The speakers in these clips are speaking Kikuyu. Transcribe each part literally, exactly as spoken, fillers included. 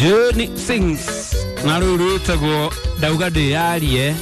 Journey Sings na rũu rwĩtagwo ndauga ndĩyarie.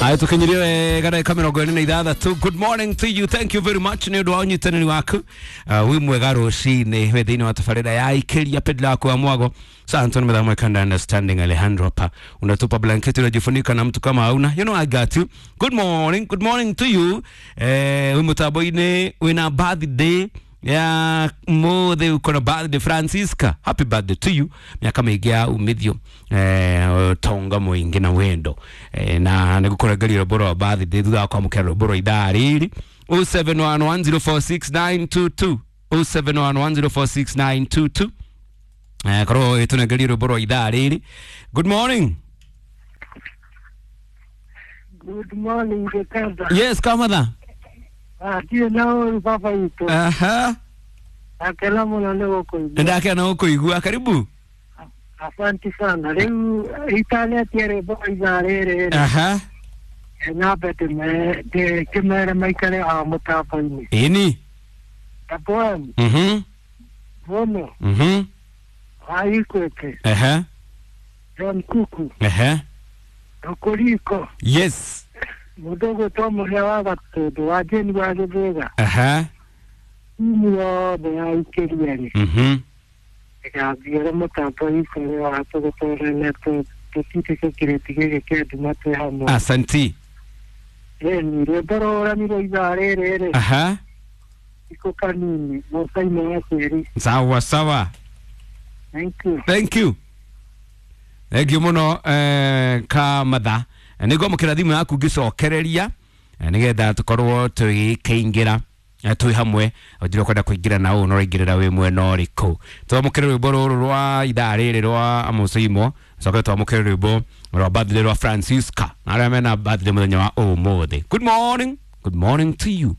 Aya, tukinyirie wega ndagĩka mĩrongo ĩrĩ na ithathatũ. Good morning to you, thank you very much nĩ ũndũ wa ũnyitanĩri waku. uh, wĩ mwega rũcinĩ wĩ thĩinĩ wa tabarĩra ya Ikĩria Pedla waku wa Mwago Santo Mdhamwe Kanda Understanding Alejandro hapa unatupa blanketi unajifunika na mtu kama hauna, you know I got you. Good morning, good morning to you. Eh, wĩ mũtambo-inĩ wĩna birthday ya mothe, uko na birthday Francisca, happy birthday to you, miaka mĩingĩ ya umithio, eh, tonga mũingĩ na wendo, eh, na nĩgũkũrengeria rwĩmbo rwa birthday thutha wa kwamũkĩra rwĩmbo rwa ithaa rĩrĩ zero seven one one zero four six nine two two, zero seven one one zero four six nine two two. Eh, korwo ĩtũnengerie rwĩmbo rwa ithaa rĩrĩ. Good morning. Good morning, Gikanda. Yes, kamatha. Ah, ndirĩ na ũru baba witũ. Aha. Akena mũno nĩ gũkũigua. Ndakena gũkũigua, karibu. Asanti sana. Rĩu itanetia rwĩmbo ithaa rĩrĩ rĩ, Aha. nyambe ndĩme- ndĩkĩmere maikare o mũtambo-inĩ. Ĩni. Tapoem, mhm Bono, mhm wa Ikwete, Ehe. John Kuku, Ehe. Okoriko, Yes. mũndũ ũgwĩtwo Mũhĩa wa Gatũndũ, wa Jane wa Gĩthĩga, Aha. timu yothe ya Ikĩria rĩ, Mhm. ĩgathiĩre mũtambo ikore wa tũgũtũrane tũtindĩke kĩrĩti gĩkĩ kĩa nduma twĩ hamwe. Asanti. Ĩni rwĩmbo rũranirwo ithaa rĩrĩ rĩ, Aha. ikũ kanini mũcainĩ wa tĩri. Sawa sawa. Thank you. Thank you. Thank you mũno, eh, kamatha. Nĩ ngwamũkĩra thimũ yaku ngĩcokereria, eh, nĩgetha tũkorwo tũgĩkĩingĩra, eh, twĩ hamwe. Njĩra ũkwenda kũingĩra na ũũ no ũraingĩrĩra wĩ mwena ũrĩkũ? Twamũkĩre rwĩmbo rũrũ rwa ithaa rĩrĩ rwa Amucaimo, coke twamũkĩre rwĩmbo rwa birthday rwa Francisca na arĩa mena birthday mũthenya wa ũmũthĩ. Good morning, good morning to you.